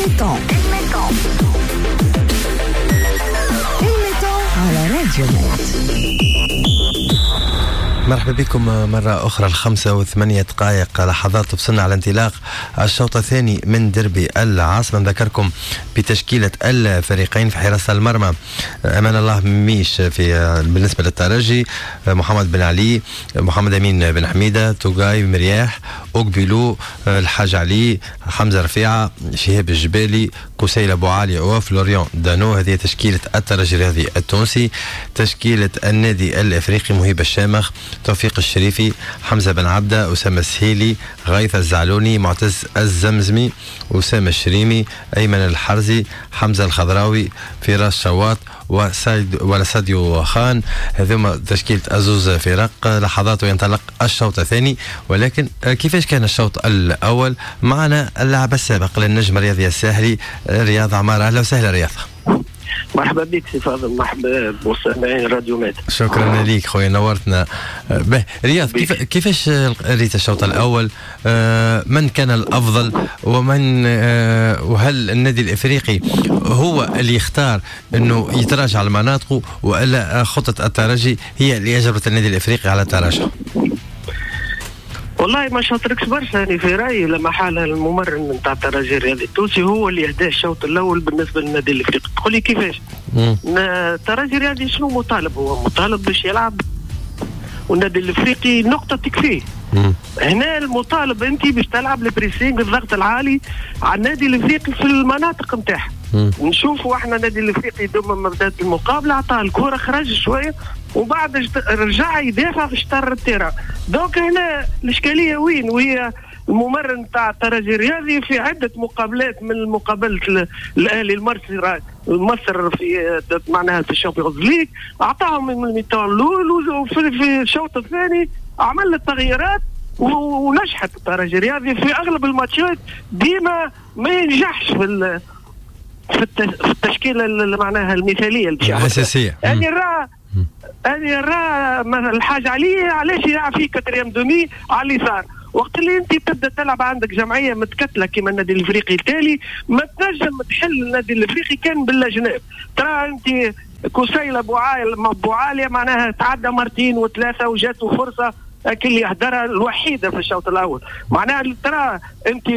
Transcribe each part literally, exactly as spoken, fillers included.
mi-temps، ال mi-temps على راديو ميد. مرحبا بكم مرة أخرى. الخمسة وثمانية دقائق لحظات تفصلنا على انطلاق الشوط الثاني من دربي العاصمة. نذكركم بتشكيلة الفريقين. في حراسة المرمى أمان الله ميش في بالنسبة للترجي، محمد بن علي، محمد أمين بن حميدة، توغاي مرياح، أوكبيلو، الحاج علي، حمزة رفيعة، شهاب الجبالي، كسيل أبو علي وفلوريان دانو. هذه تشكيلة الترجي الرياضي التونسي. تشكيلة النادي الإفريقي: مهيب الشامخ، توفيق الشريفي، حمزة بن عبدة، أسامة السهيلي، غيث الزعلوني، معتز الزمزمي، أسامة الشريمي، أيمن الحرزي، حمزة الخضراوي، فراس شواط وسايد ولا ساديو خان. هذوما تشكيلة أزوز فرق. لحظات وينطلق الشوط الثاني، ولكن كيفاش كان الشوط الأول؟ معنا اللاعب السابق للنجم الرياضي الساحلي رياض عمارة. أهلا وسهلا رياض. مرحبا بك سي فاضل، مرحبا بمستمعين راديو ميد. شكرا لك خويا، نورتنا. به رياض، كيف كيفاش ريت الشوط الاول؟ آه، من كان الافضل ومن آه، وهل النادي الافريقي هو اللي يختار انه يتراجع على مناطقه، والا خطه الترجي هي اللي اجبرت النادي الافريقي على التراجع؟ والله ما شاطركش برشا، يعني في رايي لما حال الممرن نتاع الترجي الرياضي التونسي هو اللي هداه الشوط الاول بالنسبة للنادي الافريقي. تقول لي كيفاش؟ الترجي الرياضي شنو مطالب؟ هو مطالب باش يلعب، والنادي الافريقي نقطة تكفيه. هنا المطالب انت باش تلعب ال pressing، الضغط العالي على النادي الافريقي في المناطق نتاعها. نشوفوا احنا النادي الافريقي دوما ما بدات المقابلة عطاه الكره، خرج شوية وبعد رجع يدافع في شطر ال terrain. donc هنا الاشكالية وين؟ وهي الممرن تاع الترجي الرياضي في عده مقابلات من مقابله الاهلي المصري مصر في معناها في ال Champions League اعطاهم من ال mi-temps الاول، وفي الشوط الثاني عمل التغييرات ونجحت الترجي الرياضي في اغلب الماتشات. ديما ما ينجحش في في التشكيلة اللي معناها المثالية الاساسية. يعني راه يعني راه الحاج علي علاش يلعب فيه quatrième demi على اليسار؟ وقت اللي انت تبدا تلعب عندك جمعية متكتله كما النادي الافريقي التالي، ما تنجم تحل النادي الافريقي كان بالاجناب. ترى انت كسيلة بوعالية معناها تعدى مرتين وثلاثة وجاته فرصة اللي يهدرها الوحيدة في الشوط الاول. معناها ترى انت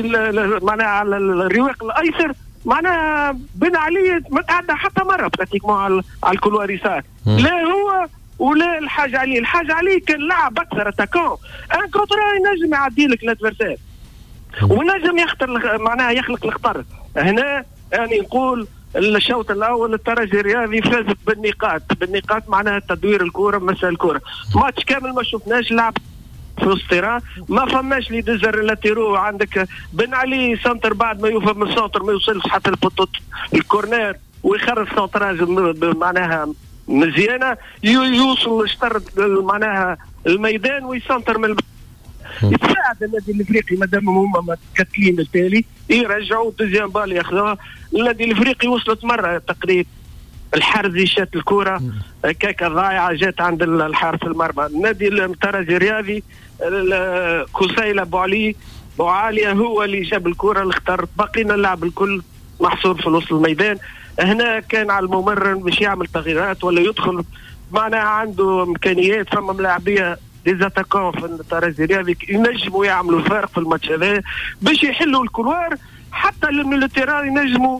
معناها على الرواق الايسر معناها بن علي ما تعدى حتى مرة pratiquement على ال couloir يسار، لا هو ولا الحاج علي. الحاج علي كان لعب اكثر attaquant un contre ينجم يعدي لك l'adversaire ونجم يخطر معناها يخلق الخطر. هنا يعني نقول الشوط الاول الترجي الرياضي فاز بالنقاط، بالنقاط معناها تدوير الكره، مسا الكره. ماتش كامل ما شفناش لعب في وسط terrain، ما فماش les deux arrières latéraux. عندك بن علي centre بعد ما يوفى من ال centre ما يوصلش حتى ال poteau ال corner ويخرج centrage معناها مزيانه، يوصل لشطر معناها الميدان ويسنتر من يساعد النادي الافريقي مادام هما متكتلين التالي يرجعوا deuxième balle ياخذوها. النادي الافريقي وصلت مرة تقريبا الحرزي شات الكره كاكا ضايعة جات عند الحارس المرمى. النادي الترجي الرياضي كسيلة بوعلي بوعالية هو اللي جاب الكره اللي اختار. بقينا اللعب الكل محصور في نص الميدان. هنا كان على الممرن باش يعمل تغييرات ولا يدخل معناها عنده امكانيات، فما ملاعبيه des attaquants في الترجي الرياضي ينجموا يعملوا فرق في الماتش هذا باش يحلوا ال couloir حتى ال milieu terrain ينجموا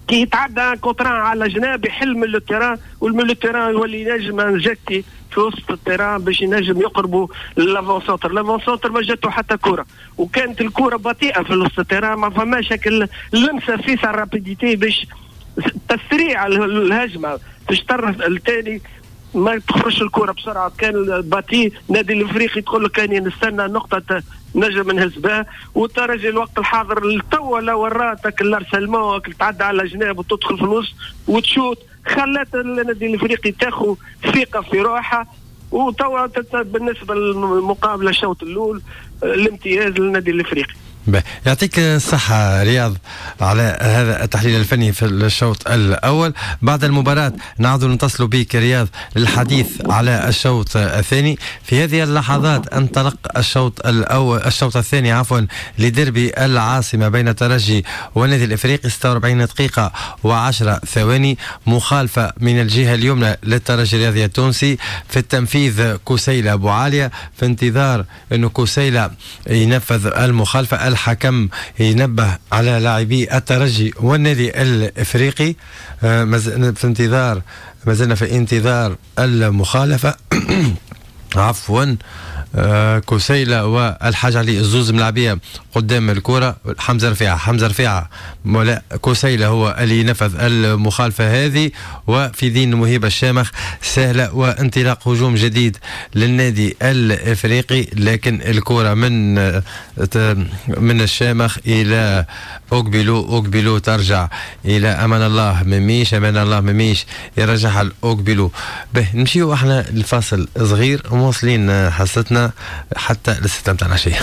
كي يتعدى contre un على جناب يحل milieu terrain، وال milieu terrain يولي ينجم injecter في وسط ال terrain باش ينجم يقربوا l'avant-centre. l'avant-centre ما جاتو حتى كره، وكانت الكره بطيئه في وسط ال terrain، ما فماش اللمسة فيسع ال rapidité باش تسريع الهجمة في الشطر الثاني ما تخرجش الكره بسرعة. كان بطيء النادي الافريقي تقول لك كان نستنى نقطة نجم نهز بها. والترجي الوقت الحاضر توا لو وراتك ال harcèlement تعدى على جناب وتدخل في الوسط وتشوت، خلت النادي الافريقي تاخذ ثقة في روحها. وتوا بالنسبة للمقابله الشوط الاول الامتياز للنادي الافريقي. يعطيك الصحة رياض على هذا التحليل الفني في الشوط الأول. بعد المباراة نعود نتصل بك رياض للحديث على الشوط الثاني. في هذه اللحظات انطلق الشوط الأول الشوط الثاني عفوا لديربي العاصمة بين الترجي والنادي الإفريقي، ستة وأربعين دقيقة وعشرة ثواني. مخالفة من الجهة اليمنى للترجي الرياضي التونسي، في التنفيذ كوسيلة أبو عالية، في انتظار أنه كوسيلة ينفذ المخالفة. الحكم ينبه على لاعبي الترجي والنادي الافريقي، في انتظار، ما زلنا في انتظار المخالفة عفوا. كوسيلة والحاج علي الزوز ملاعبيه قدام الكره، حمزة رفيعة، حمزة رفيعة ولا كوسيلة هو اللي نفذ المخالفة هذه، وفي دين مهيب الشامخ سهلة، وانطلاق هجوم جديد للنادي الافريقي، لكن الكره من من الشامخ الى اوكبيلو، اوكبيلو ترجع الى امان الله مميش، امان الله مميش يرجعها لاوكبيلو. به نمشيو احنا لفاصل صغير ومواصلين حصتنا حتى للستة متاع العشية.